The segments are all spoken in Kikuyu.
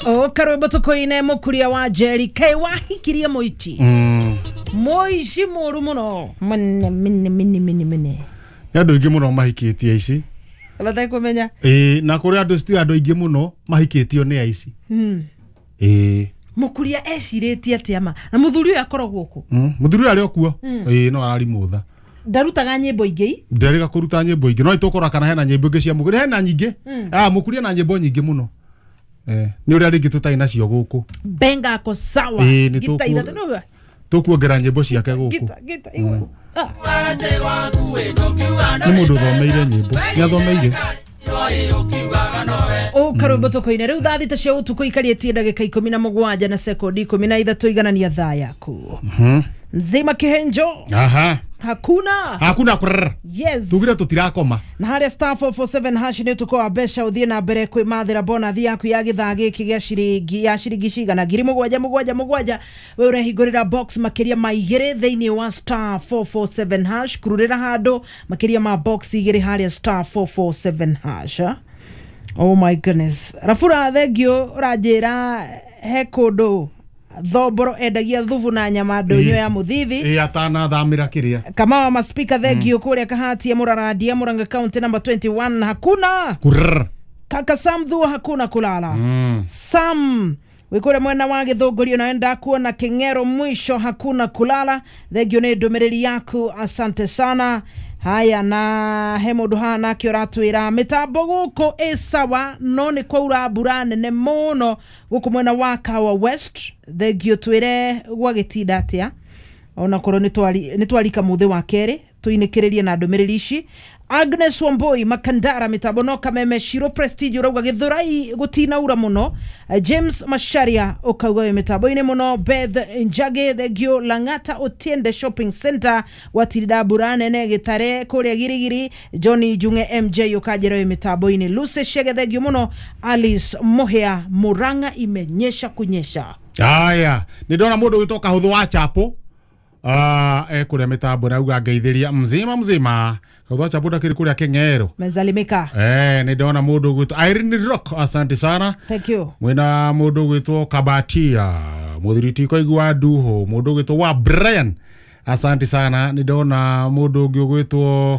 O karwimbo tukoine mukuria wa Jerry kai wahikirie muici. Muici muru muno. Mene mene mene mene mene. Nĩ andũ aingĩ mũno mahikĩtie aici. Batekũmenya. Ĩĩ, na kũrĩ andũ citi andũ aingĩ mũno mahikĩtio nĩ aici. Ĩĩ. Mukuria ecirĩtie atĩa ma? Na mũthuri ũyũ akoragwo kũ? Mũthuri ũyũ arĩ o kuo. Ĩĩ, no ararimũtha. Ndarutaga nyĩmbo ingĩ? Nderĩga kũruta nyĩmbo ingĩ. No nĩtũkũrora kana hena nyĩmbo ingĩ cia Mũkuria. Hena nyingĩ. Ah, Mũkuria na nyĩmbo nyingĩ mũno. Nĩ ũrĩa rĩngĩ tũtarĩ nacio gũkũ. Benga ako sawa. Ĩĩ, nĩ Gita ithatũ nĩwe. tũkuongerera nyĩmbo ciake gũkũ. Gita gita igwe. Ah. Nĩ mũndũ ũthomeire nyĩmbo. Nĩ athomeire. O karwimbo tukoine rĩu thaa thita cia ũtukũ ikarĩtie ndagĩka 17 na sekondi 13 iganania thaa yaku. Mzima Kihenjo. Aha. Hakuna. Hakuna kurr. Yes. Tugire tutirakoma. Na haria star 447 hash nĩ ũtukũ wa mbeca ũthiĩ na mbere kwĩmathĩra bonathi yaku ya gĩthaa gĩkĩ gĩa ciringi ya ciringi cigana 7 7 7 we ũrehingũrĩra box makĩria ma igĩrĩ thĩinĩ wa star 447 hash kururĩra handũ makĩria ma box igĩrĩ harĩa star 447 hash. Oh my goodness. Rafura thengio ũranjĩra he kũndũ Thomboro endagia thubu na nyama ndũnyũ ya mũthithi. Ĩĩ, atanathamĩra kĩrĩa. Kamawa maspika thengio kũrĩa Kahatia Mũrarandia Murang'a County number 21 hakuna. Kurr. Kaka Sam Thuo hakuna kulala. Sam wikure mwena wa Githũngũri na enda kuona King'ero mwisho hakuna kulala. Thengio nĩ ndũmĩrĩri yaku, asante sana. Haya, na he mũndũ haha nake ũratwĩra mĩtambo gũkũ ĩ sawa no nĩ kwaura mbura nene mũno gũkũ mwena wa Kawa West. Thengio twĩre gwagĩtinda atĩa ona korwo nĩ twarika mũthĩ wa kerĩ tuinĩkĩrĩrie na ndũmĩrĩri ici. Agnes Wamboi Makandara mitambo no Kameme Shiro Prestige urauga Githurai gutinaura muno. James Masharia ukauga wi mitambo-inĩ muno. Beth Njage thengio Lang'ata Otiende Shopping Center gwatirida mbura nene Gitare kuria Girigiri. Johnny Junge MJ ukanjĩra wi mitambo-inĩ. Lucy Shege thengio muno. Alice Mohea Murang'a imenyesha kunyesha. Aya, nĩ ndona mũndũ wĩtwo Kahũthũ wa Chapo. Kũrĩa mitambo na uga ngeithĩria mzima mzima. Kahũthũ wa Chapo ndakĩrĩ kũrĩa Kĩng'ero. Mezalimika. Nĩ ndona mũndũ ũgwĩtwo Irene Rock, asante sana. Thank you. Mwĩna mũndũ ũgwĩtwo Kabatia, mũthuri ti koigua Nduhu, mũndũ ũgwĩtwo wa Brian, asante sana. Nĩ ndona mũndũ ũngĩ ũgwĩtwo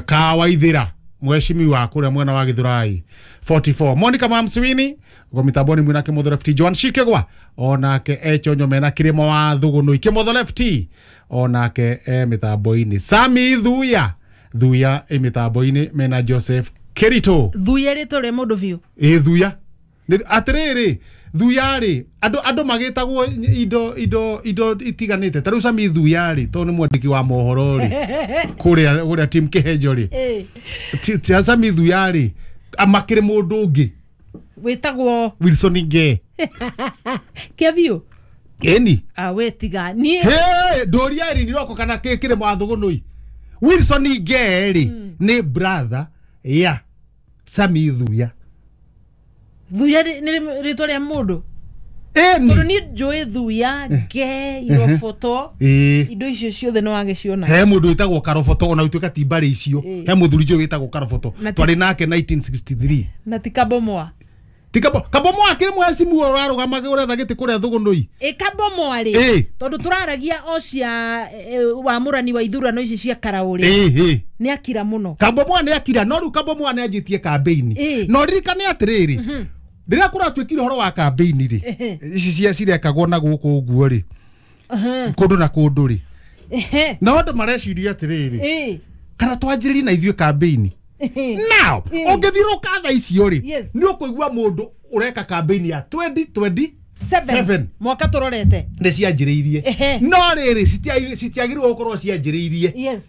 Kawaithĩra, mheshimiwa kũrĩa mwena wa Githurai 44. Monica Mamswini uko mitamboni mwina Kimotho Left. Joan Shikegwa onake echonyo mena Kirimo wa Thugunui Kimotho Left onake e mitambo-inĩ. Sami Thuya Thuya e mitambo-inĩ mena Joseph Kirito. Thuya rĩtwa rĩa mũndũ biũ. Ĩ Thuya atĩrĩrĩ, Thuya rĩ andũ magĩtagwo indo itiganĩte. Ta rĩu Sami Thuya rĩ tondũ nĩ mwandĩki wa mohoro rĩ kũrĩa team Kihenjo rĩ, ti Sami Thuya rĩ amakĩrĩ mũndũ ũngĩ wĩtagwo Wilson Nge. Kĩa biũ? Ĩni. Ah, we tiga niĩ. He, ndũria Irene Roko kana Kĩrĩma wa Thũgũnũi. Wilson Nge rĩ nĩ brother ya Sami Thuya. Thuya nĩ rĩtwa rĩa mũndũ. Ĩni. Tondũ niĩ njũĩ Thuya, Nge, Iroboto, indo icio ciothe nĩ wagĩciona. He mũndũ wĩtagwo Karoboto ona gũtuĩka ti mbarĩ icio. He mũthuri njũĩ wĩtagwo Karoboto. Twarĩ nake 1963. Na ti Kabomoa. Ti Kabomoa akĩrĩ mheshimiwa ũrarũgamaga ũretha gĩtĩ kũrĩa Thũgũnũi. Ĩ Kabomoa rĩ, tondũ tũraragia o cia wamũrani wa ithurano ici cia Karaũrĩ. Nĩ akira mũno. Kabomoa nĩ akira, no rĩu Kabomoa nĩ anjĩtie kambĩini. No ririkane atĩrĩrĩ, rĩrĩa kũratuĩkire ũhoro wa kambĩini rĩ, ici cia cirekagwo na gũkũ ũguo rĩ, kũndũ na kũndũ rĩ, na andũ mareciria atĩrĩrĩ, kana twanjĩrĩrie na ithuĩ kambĩini. Now, ũngĩthiũrũka thaa icio rĩ, nĩ ũkũigua mũndũ ũreka kambĩini ya 2027 mwaka tũrorete nĩ cianjĩrĩirie. No rĩrĩ citiagĩrĩirwo gũkorwo cianjĩrĩirie. Yes.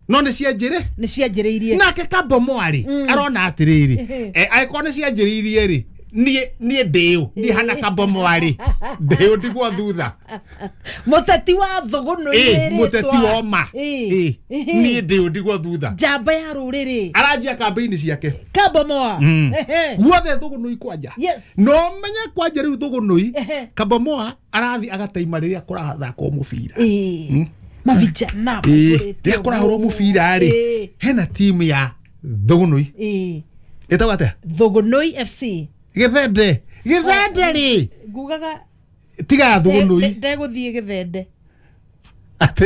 No nĩ cianjĩrĩ? Nĩ cianjĩrĩirie. Nake Kabomoa rĩ arona atĩrĩrĩ, angĩkorwo nĩ cianjĩrĩirie rĩ, niĩ ndĩũ niĩ hana Kabomoa rĩ ndĩũ ndigwo thutha. Mũteti wa Thũgũnũi rĩ, mũteti wa ma. Niĩ ndĩũ ndigwo thutha. Njamba ya rũrĩrĩ. Aranjia kambĩini ciake. Kabomoa. Guothe Thũgũnũi kwanja. Yes. No menye kwanja rĩu Thũgũnũi Kabomoa arathi agataima rĩrĩa kũrathakwo mũbira. Mavijana. Rĩrĩa kũrahũrwo mũbira rĩ, hena timu ya Thũgũnũi. Ĩtagwo atĩa? Thũgũnũi FC. Gĩthende, gĩthende rĩ. Ngugaga Tiga thũgũnũi. Ndegũthiĩ gĩthende. Atĩrĩ.